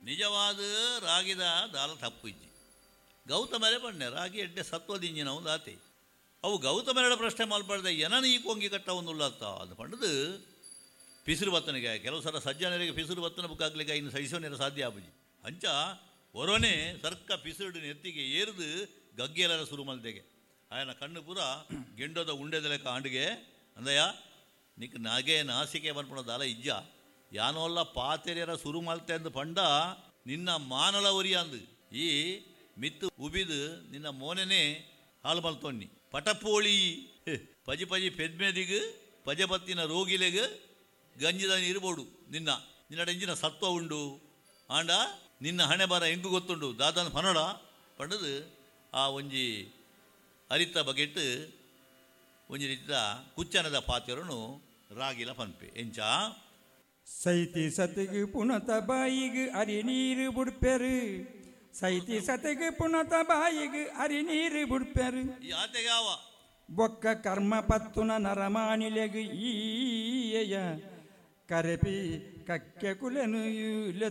ನಿಜವಾದ ರಾಗಿದ ದಾಲ ತಪ್ಪು ಇಜ್ಜಿ. ಗೌತಮರೇ ಪಣ್ಣೆ ರಾಗಿ ಎಡ್ಡೆ ಸತ್ವದಿಂಜಿನವು ದಾತೆ. ಅವು ಗೌತಮರಡ ಪ್ರಶ್ನೆ ಮಲ್ಪಡ್ದೆ ಎನನ ಈ ಕೊಂಗಿ ಕಟ್ಟ ಒಂದುಲ್ಲತ್ತ ಅದು ಪಂಡದು ಪಿಸಿರು ಬತ್ತನಿಗೆ ಕೆಲವು ಸಲ ಸಜ್ಜನರಿಗೆ ಪಿಸಿರು ಬತ್ತನ ಬುಕ್ಕಾಗ್ಲಿಕ್ಕೆ ಇನ್ನು ಸಹಿಸೋನೇರ ಸಾಧ್ಯ ಆಪುಜಿ. ಅಂಚ ಒರೊನೆ ಸರ್ಕ ಪಿಸಿರುಡು ನೆತ್ತಿಗೆ ಏರ್ದು ಗಗ್ಗೆಲರ ಸುರು ಮಲ್ದೆಗೆ ಆಯನ ಕಣ್ಣು ಪೂರ ಗೆಂಡೋದ ಉಂಡೆದ ಲೆಕ್ಕ ಆಂಡಿಗೆ ಅಂದಯ್ಯ ನಿಕ್ ನಾಗೆ ನಾಸಿಕೆ ಪನ್ಪುಣ ದಾಲ ಇಜ್ಜ ಯಾನೋಲ್ಲ ಪಾತೆರ್ಯರ ಸುರು ಮಲ್ತೆ ಅಂದ್ ಪಂಡ ನಿನ್ನ ಮಾನಲ ಒರಿಯಾಂದು ಈ ಮಿತ್ತು ಉಬಿದು ನಿನ್ನ ಮೋನೆನೆ ಹಾಲು ಮಲ್ತೊನ್ನಿ ಪಟಪೋಳಿ ಪಜಿ ಪಜಿ ಪೆದ್ಮೆದಿಗ್ ಪಜಪತ್ತಿನ ರೋಗಿಲೆಗ್ ಗಂಜಿದ ನೀರು ಬೋಡು ನಿನ್ನ ನಿನ್ನಡ ಇಂಜಿನ ಸತ್ವ ಉಂಡು ಆಂಡ ನಿನ್ನ ಹಣೆ ಬರ ಎಂಕು ಗೊತ್ತುಂಡು ದಾದನ ಪನಡ ಪಂಡದು ಆ ಒಂಜಿ ಅರಿತ ಬಗೆಟ್ ಒಂಜಿ ರೀತಿದ ಕುಚ್ಚನದ ಪಾತೆರನು ರಾಗಿಲ ಪನ್ಪೆ ಎಂಚ ಸೈತಿ ಸತಿಗ್ ಪುಣತ ಬಾಯಿಗ್ ಅರಿ ನೀರು ಬುಡ್ಪೆರು. ಸೈತಿ ಸತಿಗ್ ಪುಣತ ಬಾಯಿಗ್ ಅರಿ ನೀರು ಬುಡ್ಪೆರು. ಈ ಆತೆಗಾವ ಬೊಕ್ಕ ಕರ್ಮ ಪತ್ತುನ ನರಮಾನಿಲೆಗ್ ಈಯ ಕರೆಪಿ ಕಕ್ಕೆ ಕುಲೆನು ಲೆತು.